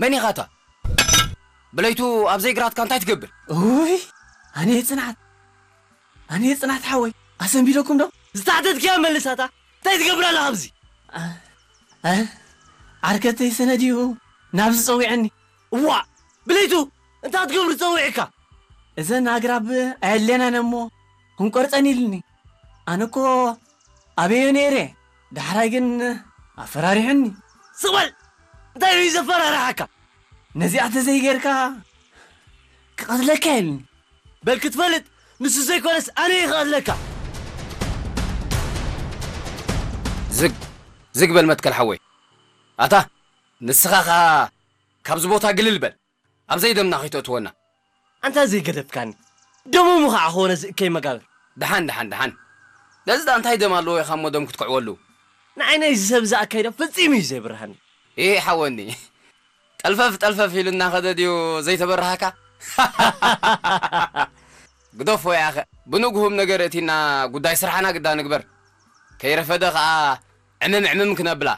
ከኒኻታ ብለይቱ ኣብ ዘይግራትካ እንታይ ትገብር? ውይ፣ ኣነ ጽናት፣ ኣነ ጽናት ሓወይ፣ ኣሰንቢደኩም ዶ? ዝተሓተትክያ መልሳታ። እንታይ ትገብር ኣለኻ ኣብዚ? እ? ዓርከተይ ሰነድ እዩ ናብዚ ጸዊዐኒ። እዋ፣ ብለይቱ እንታይ ትገብር ጸዊዕካ? እዘን ኣግራብ ኣየድልየናን እሞ ክንቆርጸን ኢልኒ። ኣነ እኮ ኣበዮ ነይረ፣ ዳሕራይ ግን ኣፈራሪሑኒ። ስቕ በል! እንታይ እዩ ዘፈራርሓካ? ነዚኣ ተዘይጌርካ ክቐትለካ ኢልኒ። በል ክትፈልጥ፣ ንሱ ዘይኮነስ ኣነ እየ ክቐትለካ። ዝግ ዝግ በል መትከል ሓወይ። ኣታ ንስኻ ኸኣ ካብዚ ቦታ ግልል በል። ኣብ ዘይደምና ከይተእትወና። ኣንታ ዘይገደፍካኒ። ደሞም ኸዓ ኾነ ዝእከይ መጋብር። ደሓን፣ ደሓን፣ ደሓን። ነዚ ደኣ እንታይ ደም ኣለዎ ኢኻ እሞ ደም ክትክዕወሉ? ንዓይ ናይዚ ሰብ እዚ ኣካይዳ ፈጺሙ እዩ ዘይብርሃኒ። ኤ ሓወኒ። ጠልፈፍ፣ ጠልፈፍ ኢሉ እናኸደ ድዩ ዘይተበርሃካ? ግደፎ ያኸ። ብንግሁም ነገር እቲና ጉዳይ ስራሕና ግዳ ንግበር። ከይረፈደ ኸዓ ዕምም ዕምም ክነብላ።